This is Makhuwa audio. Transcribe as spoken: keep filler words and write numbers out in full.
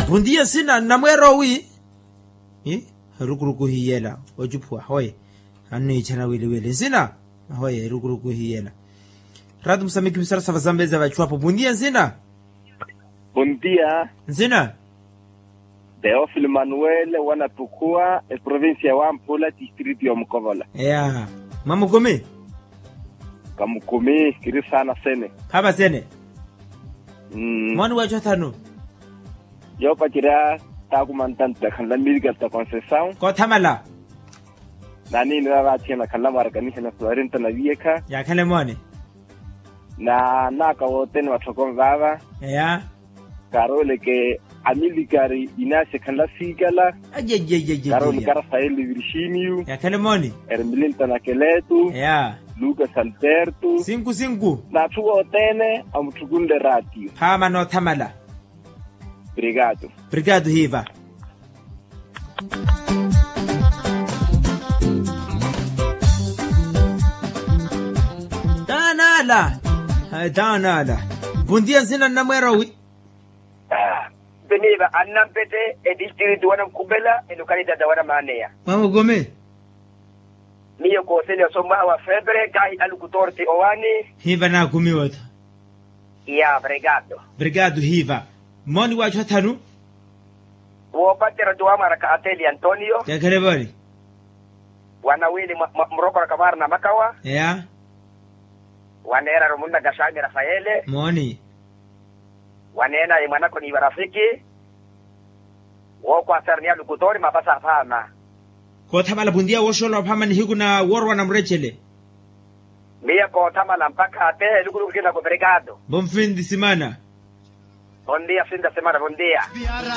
Puntiya nsina nnamweera owi. Erukuruku hiyela ocuphuwa hoye. Anniichana wiliwili nsina ahoye erukuruku hiyela. Ratu musamikhi visarasava zambeza vachuwapo puntiya nsina. Puntiya. Nsina. Teofili manuwele wanatukhuwa eprovincia ya wamphula tistritu ya omukovola. Eya. Mwamukumi. Kamukumi kiri saana sene. Khava sene. Moni wachu athanu. Yoopacerya takumantantta khanla milika ta concesao. Koothamala. Naniini vava athiyana khanla mwarakaniha na suwarinta na viyekha. Yaakhale moni. Na naaka wothene watthokon vava. Eya. Karoleke amilikari inasi khanla siikala. Karoleke rafaeli virginio. Yaakhale moni. Ermilinta na keletu. Eya. Lukas alberto. Sinku sinku. Na atthu wothene amutthukunle ratio. Haama noothamala. Obrigado. Obrigado hiva. Tanala. Tanala. Puntiya nsina nnamweera owi. Peniva annampete etistritu wanamukhupela elokalidade wanamaneya. Mwamukumi. Miyo kooselya osomwaha wa febre kahi alukutorti owani. Hiva naakumiwa otha. Ya obrigado. Obrigado hiva. Moni wachu athanu. Woopacerya oti wamwaraka ateli antonio. Yakhale vori. Wanawili murokoraka mwaari na makawa. Eya. Waneeraru munnaka xaami rafaele. Moni. Waneenaye mwanakho ni varafiki. Wookwasaraniya lukutori mapasa afaama. Koothamala puntiya wooxola ophaama nihiku na woorwa na murecele. Miyo koothamala mpakha atehe elukuruku kina ku obrigado. Bonfindi simana. Bondia finda semana bondia.